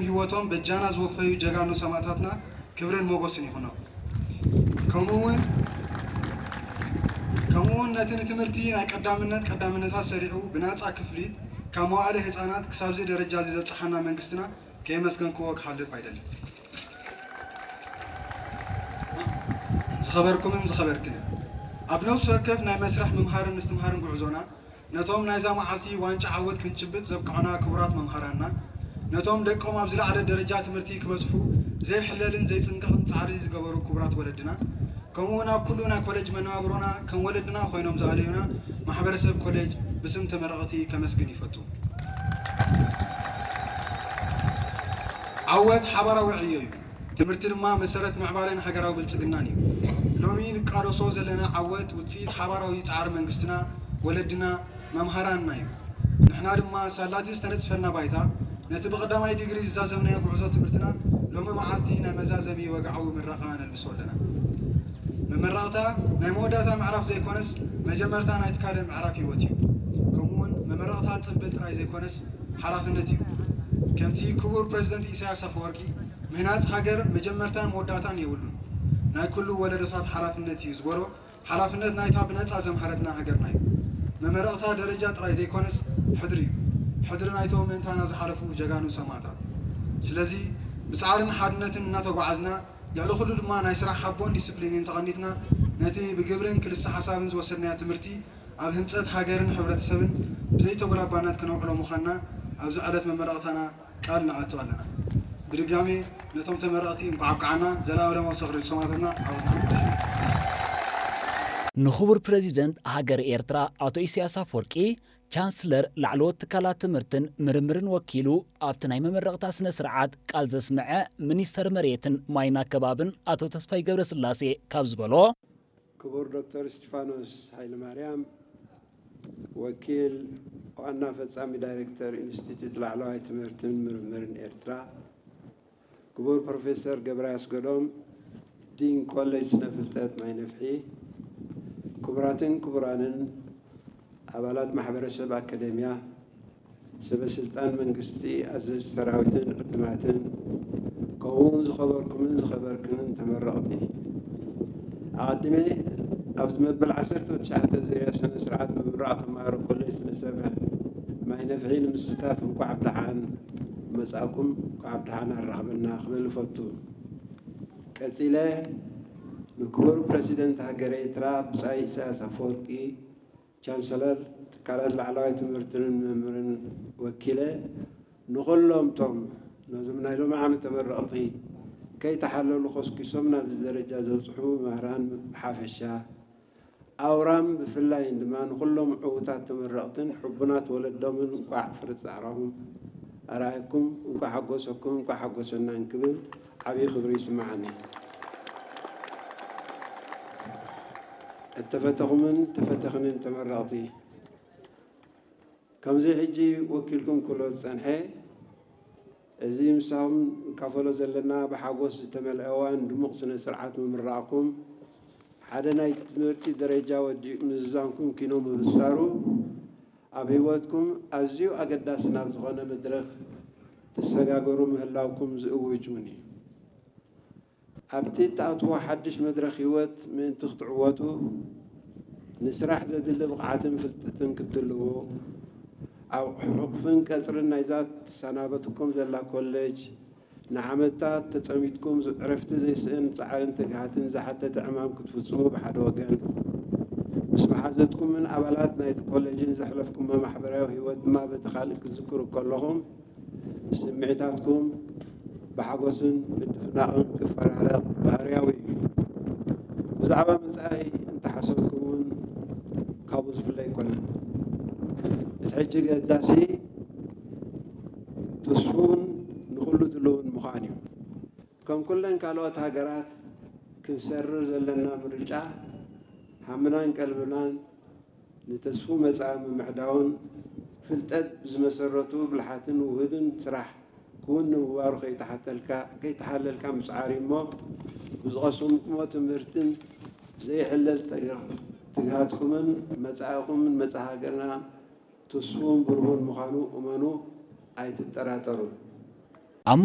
ህይወቶም በጃና ዝወፈዩ ጀጋኑ ሰማእታትና ክብርን ሞገስን ይኹኖም። ከምኡ እውን ከምኡ እውን ነቲ ንትምህርቲ ናይ ቀዳምነት ቀዳምነታት ሰሪዑ ብናጻ ክፍሊት ካብ መዋእለ ህጻናት ክሳብዚ ደረጃ እዚ ዘብጽሓና መንግስትና ከየመስገንክዎ ክሓልፍ ኣይደልን። ዝኸበርኩምን ዝኸበርክንን፣ ኣብ ነፍሲ ወከፍ ናይ መስርሕ ምምሃርን ምስትምሃርን ጉዕዞና ነቶም ናይዛ መዓልቲ ዋንጫ ዓወት ክንጭብጥ ዘብቅዑና ክቡራት መምሃራንና፣ ነቶም ደቆም ኣብ ዝለዓለ ደረጃ ትምህርቲ ክበጽሑ ዘይሕለልን ዘይጽንቀቕን ጻዕሪ ዝገበሩ ክቡራት ወለድና፣ ከምኡ እውን ኣብ ኩሉ ናይ ኮሌጅ መነባብሮና ከም ወለድና ኮይኖም ዝኣለዩና ማሕበረሰብ ኮሌጅ ብስም ተመረቕቲ ከመስግን ይፈቱ። ዓወት ሓባራዊ ዕዮ እዩ። ትምህርቲ ድማ መሰረት ምዕባለን ሃገራዊ ብልጽግናን እዩ። ሎሚ ንቃለሶ ዘለና ዓወት ውጽኢት ሓባራዊ ጻዕሪ መንግስትና፣ ወለድና፣ መምሃራንና እዩ። ንሕና ድማ ሳላቲ ዝተነጽፈልና ባይታ ነቲ ብቐዳማይ ዲግሪ ዝዛዘምናዮ ጉዕዞ ትምህርትና ሎሚ መዓልቲ ናይ መዛዘሚ ወግዓዊ ምረቓ ነልብሶ ኣለና። መመረቕታ ናይ መወዳእታ ምዕራፍ ዘይኮነስ መጀመርታ ናይቲ ካልእ ምዕራፍ ህይወት እዩ። ከምኡውን መመረቕታ ጽምብል ጥራይ ዘይኮነስ ሓላፍነት እዩ። ከምቲ ክቡር ፕሬዝደንት ኢሳያስ ኣፈወርቂ ምህናጽ ሃገር መጀመርታን መወዳእታን የብሉን። ናይ ኩሉ ወለዶታት ሓላፍነት እዩ ዝበሎ ሓላፍነት ናይታ ብነጻ ዘምሃረትና ሃገርና እዩ። መመረቕታ ደረጃ ጥራይ ዘይኮነስ ሕድሪ እዩ። ሕድሪ ናይቶም ምእንታና ዝሓለፉ ጀጋኑ ሰማእታት። ስለዚ ብጻዕርን ሓድነትን እናተጓዓዝና ልዕሊ ኩሉ ድማ ናይ ስራሕ ሓቦን ዲስፕሊንን ተቐኒትና ነቲ ብግብርን ክልሰ ሓሳብን ዝወሰድናዮ ትምህርቲ ኣብ ህንጸት ሃገርን ሕብረተሰብን ብዘይተጎላባነት ክነውዕሎ ምዃንና ኣብዚ ዕለት መመረቕታና ቃል ንኣቱ ኣለና። ብድጋሜ ነቶም ተመረቕቲ እንኳዕ ኣብቅዓና። ዘላለማዊ ዝኽሪ ንሰማእታትና። ዓወትና ሓድሽ እዩ። ንኽቡር ፕረዚደንት ሃገር ኤርትራ ኣቶ ኢሳያስ ኣፈወርቂ፣ ቻንስለር ላዕለዎት ትካላት ትምህርትን ምርምርን ወኪሉ ኣብቲ ናይ መመረቕታ ስነ ስርዓት ቃል ዘስምዐ ሚኒስተር መሬትን ማይን ኣከባብን ኣቶ ተስፋይ ገብረስላሴ ካብ ዝበሎ፣ ክቡር ዶክተር እስቲፋኖስ ሃይለማርያም፣ ወኪል ዋና ፈጻሚ ዳይሬክተር ኢንስቲትዩት ላዕለዋይ ትምህርትን ምርምርን ኤርትራ፣ ክቡር ፕሮፌሰር ገብረ ኣስገዶም፣ ዲን ኮሌጅ ስነ ፍልጠት ማይ ነፍሒ፣ ክቡራትን ክቡራንን ኣባላት ማሕበረሰብ ኣካደምያ፣ ሰበ ስልጣን መንግስቲ፣ ኣዘዝቲ ሰራዊትን ዕዱማትን፣ ከምኡውን ዝኸበርኩምን ዝኸበርክንን ተመረቕቲ፣ ኣቐዲመ ኣብዚ መበል ዓሰርተ ትሽዓተ ዙርያ ስነ ስርዓት ምምራቕ ተምሃሮ ኮሌጅ ስነ ሰብ ማይ ነፍሒ ንምስታፍ እንኳዕ ብደሓን መጻእኩም፣ እንኳዕ ብደሓን ኣራኽበና ክብል እፈቱ። ቀጺለ ንክቡር ፕረሲደንት ሃገረ ኤርትራ ብጻይ ኢሳያስ ኣፈወርቂ፣ ቻንሰለር ትካላት ላዕለዋይ ትምህርትን ምርምርን ወኪለ፣ ንኹሎም እቶም ነዞም ናይ ሎሚ ዓመት ተመረቕቲ ከይተሓለሉ ኮስኪሶም ናብዚ ደረጃ ዘብጽሑ መምህራን ብሓፈሻ፣ ኣውራም ብፍላይን ድማ ንኹሎም ዕዉታት ተመረቕትን ሕቡናት ወለዶምን እንቋዕ ፍረ ጻዕራኹም ኣርኣየኩም፣ እንቋዕ ሓጎሰኩም፣ እንቋዕ ሓጎሰና እንክብል ዓብዪ ክብሪ ይስምዓኒ። እተፈተኹምን እተፈተኽንን ተመረቕቲ፣ ከምዚ ሕጂ ወኪልኩም ክብሎ ዝጸንሐ፣ እዚ ምሳኹም ንካፈሎ ዘለና ብሓጎስ ዝተመልአ እዋን ድሙቕ ስነ ስርዓት ምምራቕኩም፣ ሓደ ናይ ትምህርቲ ደረጃ ወዲኡ ምዝዛምኩም ኪኖ ምብሳሩ፣ ኣብ ህይወትኩም ኣዝዩ ኣገዳሲ ናብ ዝኾነ መድረኽ ትሰጋገሩ ምህላውኩም ዝእውጅ እውን እዩ። ኣብቲ እትኣትዎ ሓድሽ መድረኽ ህይወት ምእንቲ ክትዕወቱ፣ ንስራሕ ዘድሊ ብቕዓትን ፍልጠትን ክትድልዉ፣ ኣብ ሕቑፍን ቀጽርን ናይዛ ትሰናበትኩም ዘላ ኮሌጅ፣ ንዓመታት ተጸሚድኩም ዕረፍቲ ዘይስእን ጻዕርን ትግሃትን ዝሓተተ ዕማም ክትፍጽሙ ብሓደ ወገን፣ ምስ መሓዘትኩምን ኣባላት ናይቲ ኮሌጅን ዘሕለፍኩሞ ማሕበራዊ ህይወት ድማ በቲ ካልእ ክትዝክሩ ከለኹም፣ ስምዒታትኩም ብሓጎስን ምድፍናቕን ክፈራረቕ ባህርያዊ እዩ። ብዛዕባ መጻኢ እንተሓሰብኩም እውን ካብኡ ዝፍለ ኣይኮነን። እቲ ሕጂ ገዳሲ ተስፉን ንኹሉ ድሉውን ምዃን እዩ። ከም ኩለን ካልኦት ሃገራት ክንሰርር ዘለና ምርጫ ሃምናን ቀልብናን ንተስፉ መጻኢ ምምዕዳውን ፍልጠት ብዝመሰረቱ ብልሓትን ውሁድን ስራሕ ክውን ንምግባሩ ከይተሓተልካ ከይተሓለልካ ምጽዓር እዩ እሞ ብዝቐሰምኩሞ ትምህርትን ዘይሕለል ትግሃትኩምን መጻኢኹምን መጻኢ ሃገርና ትስፉን ብሩሁን ምዃኑ እመኑ ኣይትጠራጠሩ። ኣብ